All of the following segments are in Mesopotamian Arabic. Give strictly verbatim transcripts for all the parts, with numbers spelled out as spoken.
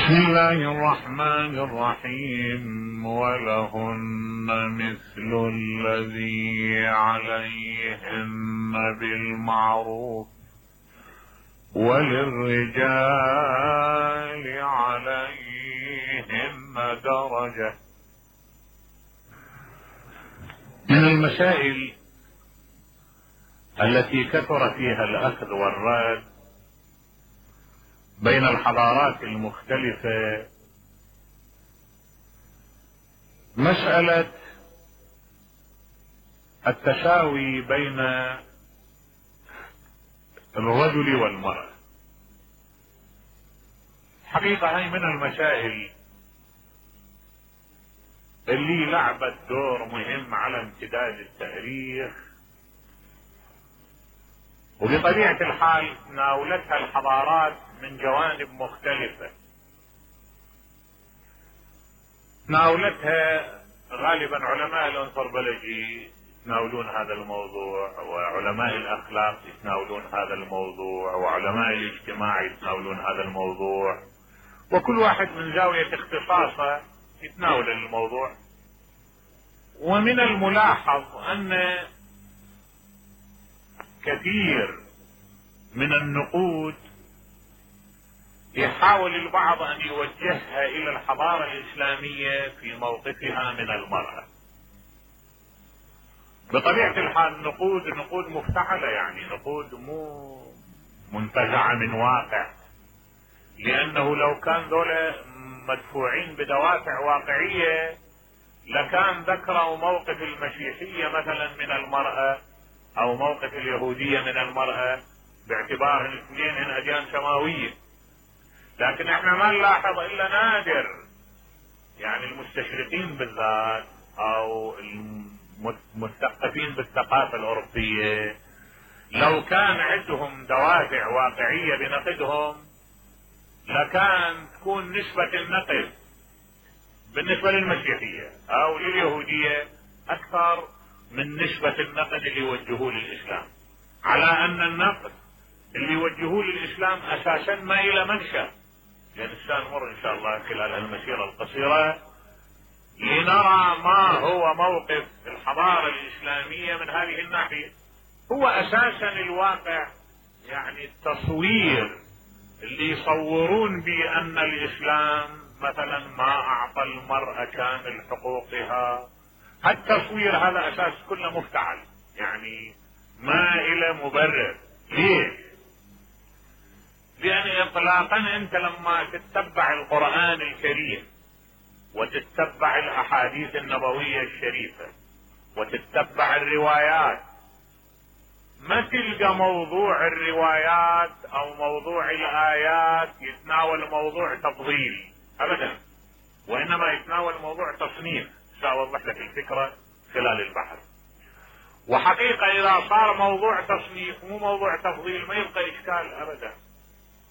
بسم الله الرحمن الرحيم. ولهن مثل الذي عليهن بالمعروف وللرجال عليهن درجة. من المسائل التي كثر فيها الأخذ والرد بين الحضارات المختلفة مسألة التساوي بين الرجل والمرأة. حقيقة هي من المسائل اللي لعبت دور مهم على امتداد التاريخ، وبطبيعة الحال تناولتها الحضارات من جوانب مختلفة. تناولتها غالبا علماء الانثروبولوجي يتناولون هذا الموضوع، وعلماء الاخلاق يتناولون هذا الموضوع، وعلماء الاجتماع يتناولون هذا الموضوع، وكل واحد من زاوية اختصاصه يتناول الموضوع. ومن الملاحظ ان كثير من النقود يحاول البعض ان يوجهها الى الحضارة الاسلامية في موقفها من المرأة. بطبيعة الحال نقود نقود مفتعلة، يعني نقود مو منتزعة من واقع، لانه لو كان ذولا مدفوعين بدوافع واقعية لكان ذكروا موقف المسيحية مثلا من المرأة او موقف اليهودية من المرأة باعتبار الاثنين هن اديان سماوية. لكن احنا ما نلاحظ الا نادر، يعني المستشرقين بالذات او المثقفين بالثقافة الاوروبية لو كان عندهم دوافع واقعية بنقدهم لكان تكون نسبة النقد بالنسبة للمسيحية او لليهودية اكثر من نسبة النقد اللي يوجهوه للاسلام، على ان النقد اللي يوجهوه للاسلام اساسا ما الى منشأ. لان سنمر ان شاء الله خلال المسيرة القصيرة لنرى ما هو موقف الحضارة الاسلامية من هذه الناحية. هو اساسا الواقع، يعني التصوير اللي يصورون بان الاسلام مثلا ما اعطى المرأة كامل حقوقها، التصوير هذا اساس كله مفتعل، يعني ما الى مبرر. ليش؟ لان اطلاقا انت لما تتبع القرآن الكريم وتتبع الاحاديث النبوية الشريفة وتتبع الروايات ما تلقى موضوع الروايات او موضوع الايات يتناول موضوع تفضيل ابدا، وانما يتناول موضوع تصنيف. سأوضح لك الفكرة خلال البحث. وحقيقة اذا صار موضوع تصنيف مو موضوع تفضيل ما يبقى اشكال ابدا.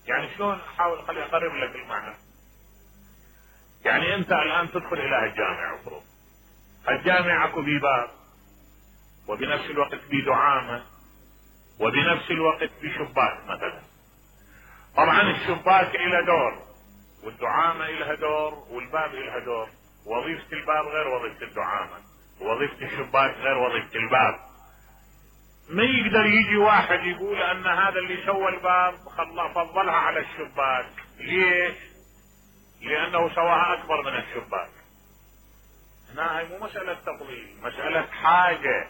يعني شلون؟ احاول خلي اقرب لك المعنى. يعني انت الان تدخل الى الجامع، افرض الجامع اكو بيه باب وبنفس الوقت بيه دعامة وبنفس الوقت بيه شباك مثلا. طبعا الشباك الى دور والدعامة الها دور والباب الها دور، وظيفة الباب غير وظيفة الدعامة، وظيفة الشباك غير وظيفة الباب. ما يقدر يجي واحد يقول ان هذا اللي سوى الباب خلاه فضلها على الشباك. ليش؟ لانه سواها اكبر من الشباك. هنا هي مو مسألة تفضيل، مسألة حاجة.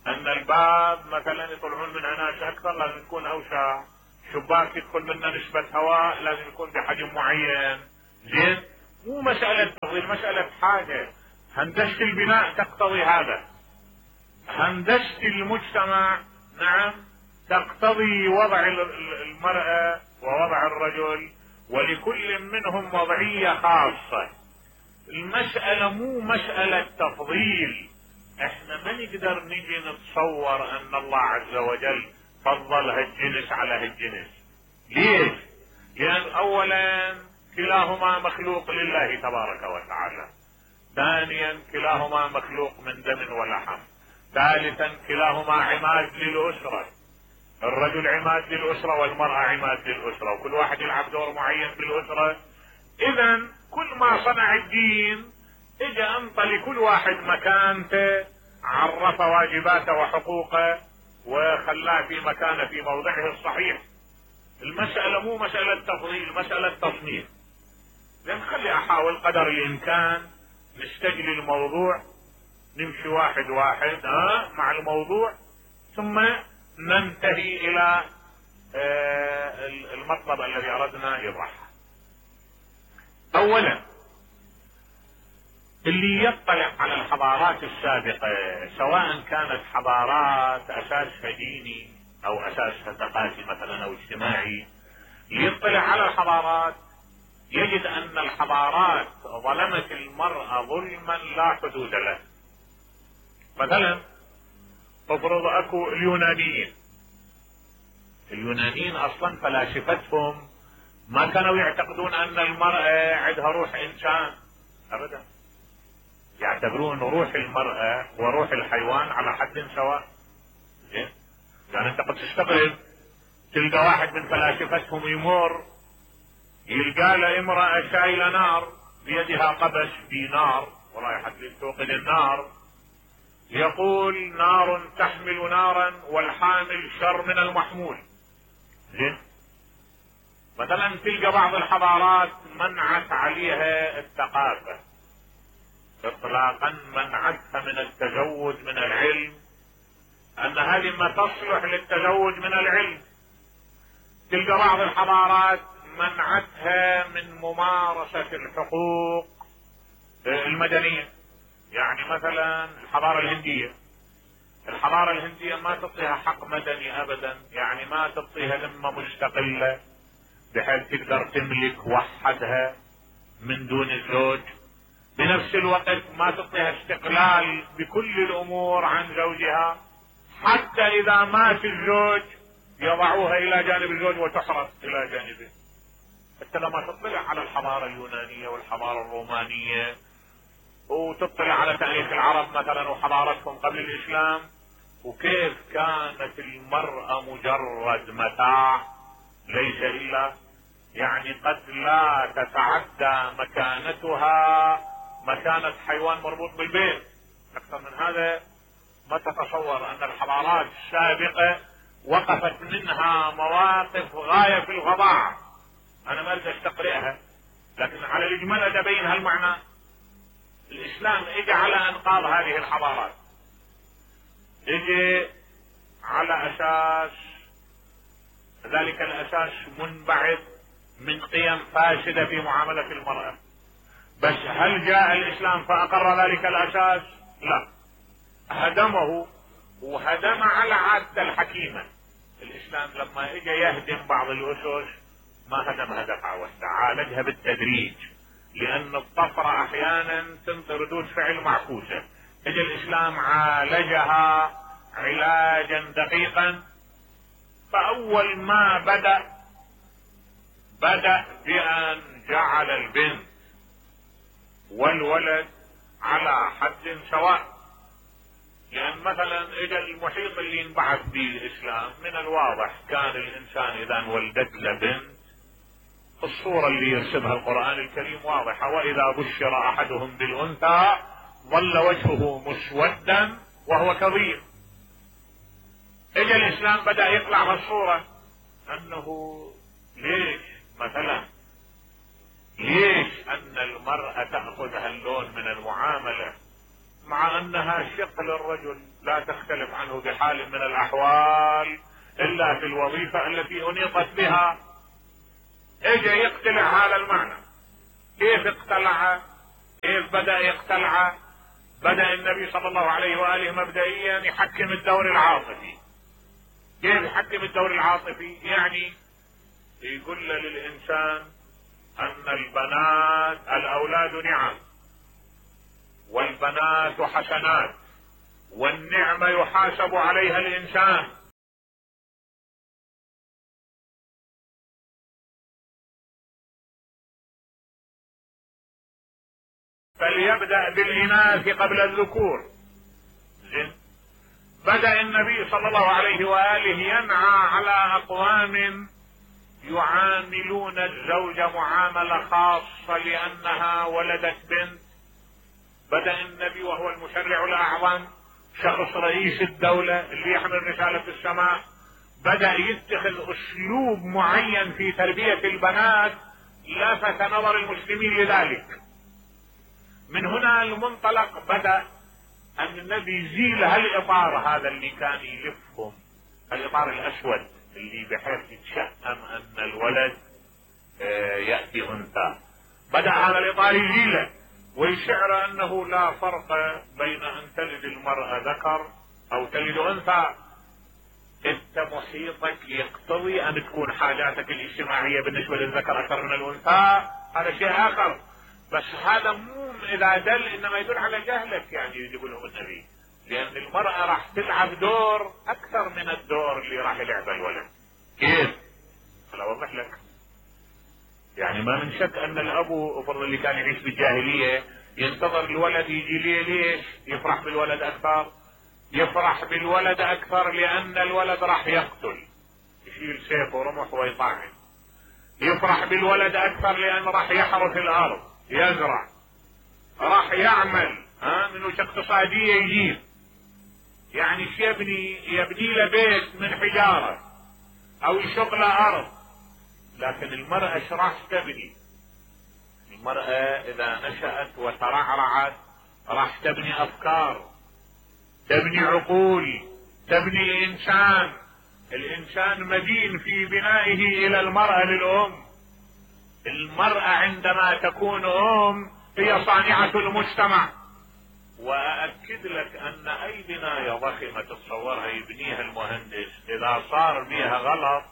ان الباب مثلا يطلعون منها ناس اكثر لازم يكون اوسع، شباك يدخل منه نسبة هواء لازم يكون بحجم معين. زين؟ مو مسألة تفضيل، مسألة حاجة. هندسة البناء تقتضي هذا، هندسة المجتمع نعم تقتضي وضع المرأة ووضع الرجل، ولكل منهم وضعية خاصة. المسألة مو مسألة تفضيل. احنا ما نقدر نجي نتصور ان الله عز وجل فضل هالجنس على هالجنس. ليش؟ لان اولا كلاهما مخلوق لله تبارك وتعالى، ثانيا كلاهما مخلوق من دم ولحم، ثالثا كلاهما عماد للأسرة. الرجل عماد للأسرة والمرأة عماد للأسرة، وكل واحد يلعب دور معين بالأسرة اذا كل ما صنع الدين اجى انطى لكل واحد مكانته، عرف واجباته وحقوقه وخلاه في مكانه في موضعه الصحيح. المسألة مو مسألة تفضيل، مسألة تصنيف. لان خلي احاول قدر الامكان نستجلي الموضوع، نمشي واحد واحد ها مع الموضوع، ثم ننتهي الى آه المطلب الذي اردنا يطرحه. اولا، اللي يطلع على الحضارات السابقة سواء كانت حضارات اساسها ديني او اساسها ثقافي مثلا او اجتماعي، يطلع على الحضارات يجد ان الحضارات ظلمت المرأة ظلما لا حدود له. مثلا تفرض اكو اليونانيين، اليونانيين اصلا فلاسفتهم ما كانوا يعتقدون ان المرأة عندها روح انسان ابدا، يعتبرون روح المرأة وروح الحيوان على حد سواء. زين، يعني انت قد تستغرب تلقى واحد من فلاسفتهم يمر يلقى له امرأة شايلة نار بيدها قبس في نار ورايحة توقد النار، يقول نار تحمل نارا والحامل شر من المحمول. زين، مثلا تلقى بعض الحضارات منعت عليها الثقافة اطلاقا، منعتها من التزوج من العلم، ان هذه ما تصلح للتزوج من العلم. تلقى بعض الحضارات منعتها من ممارسة الحقوق المدنية، يعني مثلا الحضارة الهندية، الحضارة الهندية ما تعطيها حق مدني ابدا، يعني ما تعطيها ذمة مستقلة بحيث تقدر تملك وحدها من دون الزوج، بنفس الوقت ما تعطيها استقلال بكل الامور عن زوجها، حتى اذا مات الزوج يضعوها الى جانب الزوج وتحرس الى جانبه. حتى لما تطلع على الحضارة اليونانية والحضارة الرومانية وتطلع على تاريخ العرب مثلا وحضارتهم قبل الاسلام، وكيف كانت المرأة مجرد متاع ليس الا يعني قد لا تتعدى مكانتها مكانة حيوان مربوط بالبيت. اكثر من هذا ما تتصور ان الحضارات السابقة وقفت منها مواقف غاية في الفظاعة. انا ما اريد استقرئها، لكن على الاجمال ابين هالمعنى. الاسلام اجى على انقاذ هذه الحضارات، اجى على اساس ذلك الاساس منبعث من قيم فاسدة في معاملة المرأة. بس هل جاء الاسلام فاقر ذلك الاساس؟ لا، هدمه، وهدم على عادة الحكيمة. الاسلام لما اجى يهدم بعض الاسس ما هدمها دفعة واحدة، عالجها بالتدريج، لان الطفرة احيانا تنطي ردود فعل معكوسة. اجى الاسلام عالجها علاجا دقيقا. فاول ما بدأ بدأ بان جعل البنت والولد على حد سواء. لان مثلا اجى المحيط اللي ينبعث به الاسلام من الواضح كان الانسان اذا ولدت له بنت الصورة اللي يرسمها القرآن الكريم واضحة، واذا بشر احدهم بالانثى ظل وجهه مسودا وهو كظيم. اجى الاسلام بدأ يطلع هالصورة انه ليش مثلا ليش ان المرأة تأخذ هاللون من المعاملة مع انها شق للرجل لا تختلف عنه بحال من الاحوال الا في الوظيفة التي انيطت بها. اجى يقتلع هذا المعنى. كيف اقتلع؟ كيف بدأ يقتلع؟ بدأ النبي صلى الله عليه وآله مبدئيا يحكم الدور العاطفي. كيف يحكم الدور العاطفي؟ يعني يقول للإنسان أن البنات الأولاد نعم، والبنات حسنات، والنعمة يحاسب عليها الإنسان. فليبدأ بالإناث قبل الذكور. زين، بدأ النبي صلى الله عليه وآله ينعى على أقوام يعاملون الزوجة معاملة خاصة لأنها ولدت بنت. بدأ النبي وهو المشرع الأعظم، شخص رئيس الدولة اللي يحمل رسالة السماء، بدأ يتخذ أسلوب معين في تربية البنات لفت نظر المسلمين لذلك. من هنا المنطلق بدأ أن النبي يزيل هالإطار هذا اللي كان يلفهم، الإطار الأسود اللي بحيث يتشأم أن الولد يأتي أنثى. بدأ هذا الإطار يزيله ويشعر أنه لا فرق بين أن تلد المرأة ذكر أو تلد أنثى. انت محيطك يقتضي ان تكون حاجاتك الاجتماعية بالنسبة للذكر اكثر من الانثى، هذا شيء اخر، بس هذا مو اذا دل انما يدل على جهلك يعني يقولهم النبي، لان المرأة راح تلعب دور اكثر من الدور اللي راح يلعبه الولد. كيف؟ انا اوضح لك. يعني ما من شك ان الابو افرض اللي كان يعيش بالجاهلية ينتظر الولد يجي ليه، ليش؟ يفرح بالولد اكثر، يفرح بالولد اكثر لان الولد راح يقتل، يشيل سيف ورمح ويطعن. يفرح بالولد اكثر لان راح يحرث الارض، يزرع، راح يعمل، ها من وجه اقتصادية يجيب، يعني يبني يبني له بيت من حجارة او يشق له ارض. لكن المرأة ايش راح تبني؟ المرأة اذا نشأت وترعرعت راح تبني افكار، تبني عقول، تبني انسان. الانسان مدين في بنائه الى المرأة للام. المرأة عندما تكون ام هي صانعة المجتمع. واكد لك ان اي بناية ضخمة تتصورها يبنيها المهندس اذا صار بيها غلط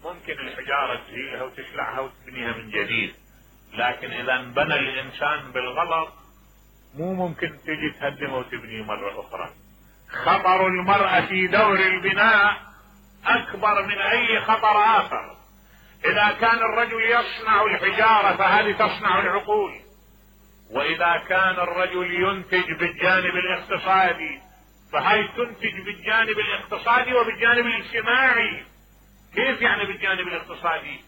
ممكن الحجارة تزيلها وتشلعها وتبنيها من جديد، لكن اذا انبنى الانسان بالغلط مو ممكن تجي تهدمه وتبنيه مرة اخرى. خطر المرأة في دور البناء اكبر من اي خطر اخر. اذا كان الرجل يصنع الحجارة فهذه تصنع العقول، واذا كان الرجل ينتج بالجانب الاقتصادي فهي تنتج بالجانب الاقتصادي وبالجانب الاجتماعي. كيف يعني بالجانب الاقتصادي؟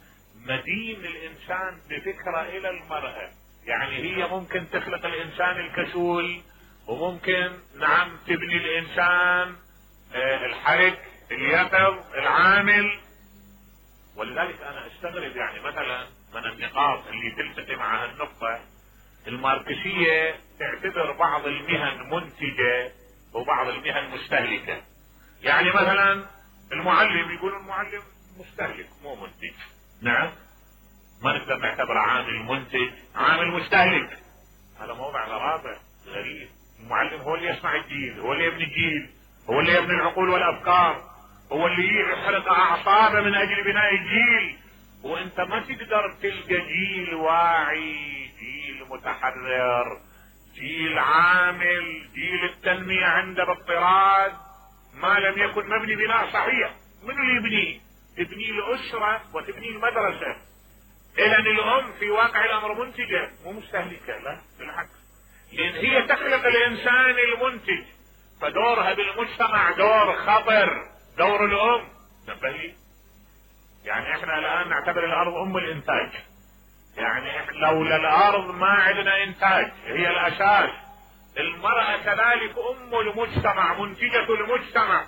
مدين الانسان بفكرة الى المرأة، يعني هي ممكن تخلق الانسان الكسول وممكن نعم تبني الانسان الحرك اليقظ العامل. ولذلك انا استغرب يعني مثلا من النقاط اللي تلتقي مع هالنقطة، الماركسية تعتبر بعض المهن منتجة وبعض المهن مستهلكة. يعني مثلا المعلم يقول المعلم مستهلك مو منتج. نعم، ما نقدر نعتبره عامل منتج، عامل مستهلك. هذا موضع غرابة غريب. المعلم هو اللي يصنع الجيل، هو اللي يبني الجيل، هو اللي يبني العقول والافكار، هو اللي يحرق اعصابه من اجل بناء الجيل. وانت ما تقدر تلقى جيل واعي، جيل متحرر، جيل عامل، جيل التنمية عنده باضطراد ما لم يكن مبني بناء صحيح. منو اللي يبنيه؟ تبني الاسرة وتبني المدرسة. اذا الام في واقع الامر منتجة مو مستهلكة، لا بالعكس، لان هي تخلق الانسان المنتج، فدورها بالمجتمع دور خطر، دور الام. نبهي يعني احنا الان نعتبر الارض ام الانتاج، يعني احنا لولا الارض ما عندنا انتاج، هي الاساس. المرأة كذلك ام المجتمع، منتجة المجتمع.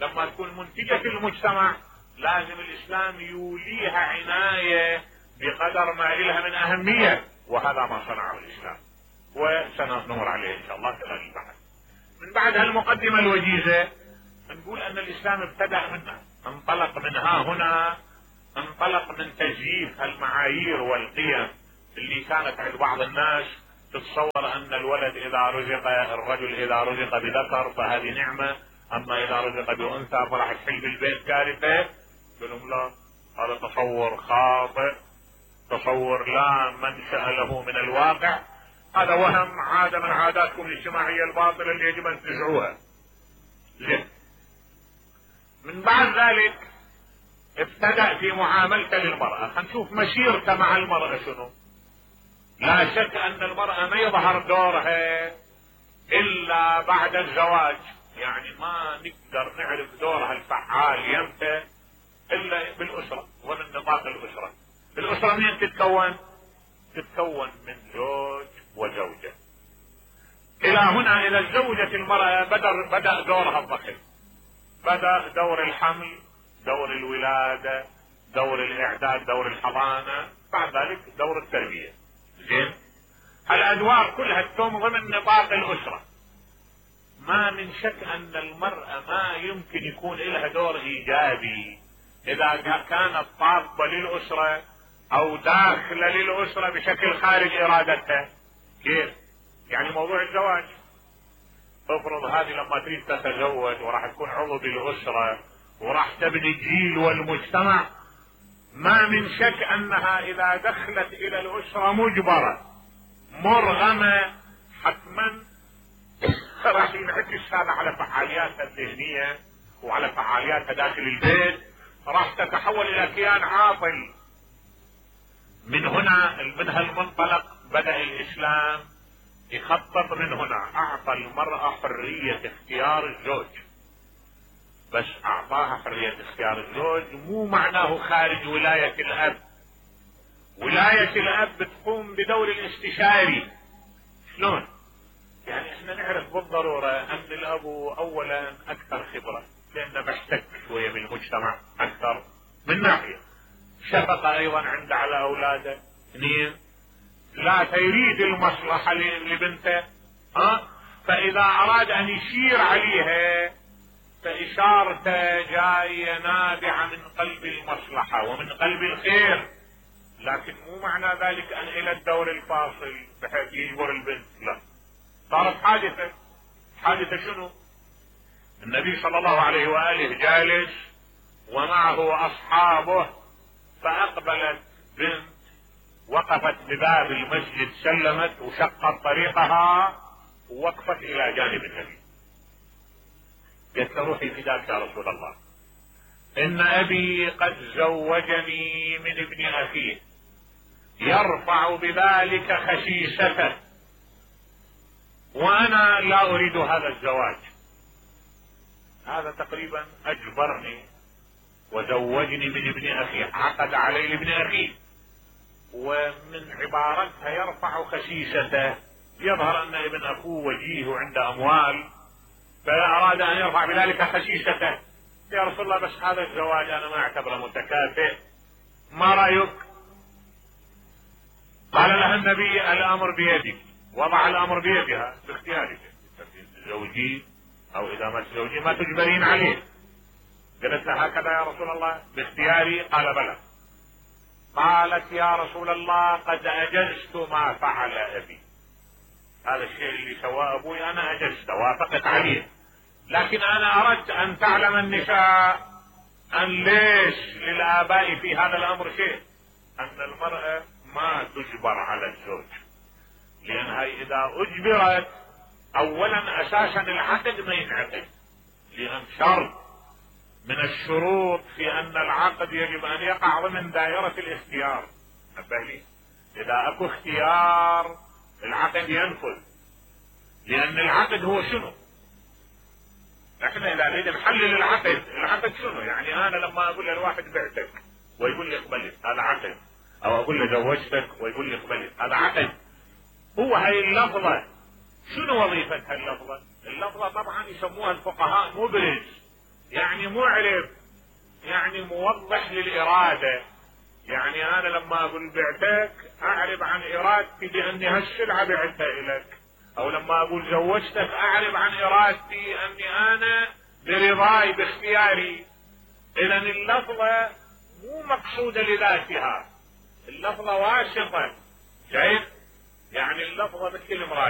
لما تكون منتجة المجتمع لازم الاسلام يوليها عناية بقدر ما لها من اهمية، وهذا ما صنعه الاسلام وسنمر عليه ان شاء الله خلال البحث. من بعد هالمقدمة الوجيزة نقول ان الاسلام ابتدأ منها، انطلق من ها هنا، انطلق من تزييف المعايير والقيم اللي كانت عند بعض الناس تتصور ان الولد اذا رزق، الرجل اذا رزق بذكر فهذه نعمة، اما اذا رزق بانثى فراح تحل بالبيت كارثة. قلهم لا، هذا تصور خاطئ، تصور لا منشأ له من الواقع، هذا وهم عادة من عاداتكم الاجتماعية الباطلة اللي يجب ان تنزعوها. زين. من بعد ذلك ابتدأ في معاملته للمرأة. خلينا مسيرته مع المرأة شنو. لا شك ان المرأة ما يظهر دورها الا بعد الزواج، يعني ما نقدر نعرف دورها الفعال يمتى الا بالاسرة، ضمن نطاق الاسرة. الاسرة منين تتكون؟ تتكون من زوج وزوجة. الى هنا الى الزوجة المرأة بدأ, بدأ دورها الضخم، بدأ دور الحمل، دور الولادة، دور الاعداد، دور الحضانة، بعد ذلك دور التربية. زين، الادوار كلها تتم ضمن نطاق الاسرة. ما من شك ان المرأة ما يمكن يكون لها دور ايجابي اذا كانت طاقبة للاسرة او داخلة للاسرة بشكل خارج ارادتها. كيف؟ يعني موضوع الزواج، افرض هذه لما تريد تتزوج وراح تكون عضو بالاسرة وراح تبني الجيل والمجتمع، ما من شك انها اذا دخلت الى الاسرة مجبرة مرغمة حتما راح ينعكس هذا على فعالياتها الذهنية وعلى فعالياتها داخل البيت، راح تتحول الى كيان عاطل. من هنا من هالمنطلق بدأ الاسلام يخطط. من هنا اعطى المرأة حرية اختيار الزوج، بس اعطاها حرية اختيار الزوج مو معناه خارج ولاية الاب. ولاية الاب بتقوم بدور الاستشاري. شلون؟ يعني احنا نعرف بالضرورة ان الاب اولا اكثر خبرة لانه بيحتك شوية بالمجتمع اكثر من ناحية، شفقة ايضا عنده على اولاده. اثنين، لا يريد المصلحة لبنته، ها، فاذا اراد ان يشير عليها فاشارته جاية نابعة من قلب المصلحة ومن قلب الخير، لكن مو معنى ذلك ان الى الدور الفاصل بحيث يجبر البنت. لا، صارت حادثة. حادثة شنو؟ النبي صلى الله عليه وآله جالس ومعه اصحابه، فاقبلت بنت وقفت بباب المسجد، سلمت وشقت طريقها ووقفت الى جانب النبي. قالت له روحي فداك يا رسول الله، ان ابي قد زوجني من ابن اخيه يرفع بذلك خسيسته وانا لا اريد هذا الزواج. هذا تقريبا اجبرني وزوجني من ابن اخيه، عقد علي لابن اخيه. ومن عبارتها يرفع خسيسته يظهر ان ابن اخوه وجيه وعنده اموال، فاراد ان يرفع بذلك خسيسته. يا رسول الله بس هذا الزواج انا ما اعتبره متكافئ، ما رايك؟ قال لها النبي الامر بيدك، وضع الامر بيدها باختيارك، تزوجي او اذا ما تزوجي ما تجبرين عليه. قالت له هكذا يا رسول الله باختياري؟ قال بلى. قالت يا رسول الله قد اجزت ما فعل ابي، هذا الشيء اللي سواه ابوي انا اجزت وافقت عليه، لكن انا اردت ان تعلم النساء ان ليش للاباء في هذا الامر شيء، ان المرأة ما تجبر على الزوج، لانها اذا اجبرت اولا اساسا العقد ما ينعقد، لان شرط من الشروط في ان العقد يجب ان يقع ضمن دائرة الاختيار. نبه، اذا اكو اختيار العقد ينفذ، لان العقد هو شنو؟ احنا اذا نريد نحلل العقد، العقد شنو؟ يعني انا لما اقول للواحد بعتك ويقول لي اقبلت، هذا عقد. او اقول له زوجتك ويقول لي اقبلت، هذا عقد. هو هاي اللفظة شنو وظيفتها اللفظة؟ اللفظة طبعا يسموها الفقهاء مبرز، يعني معرف، يعني موضح للإرادة. يعني انا لما اقول بعتك اعرب عن ارادتي باني هالسلعة بعتها الك، او لما اقول زوجتك اعرب عن ارادتي اني انا برضاي باختياري. اذا اللفظة مو مقصودة لذاتها، اللفظة واسطة. شايف؟ يعني اللفظة مثل المراية.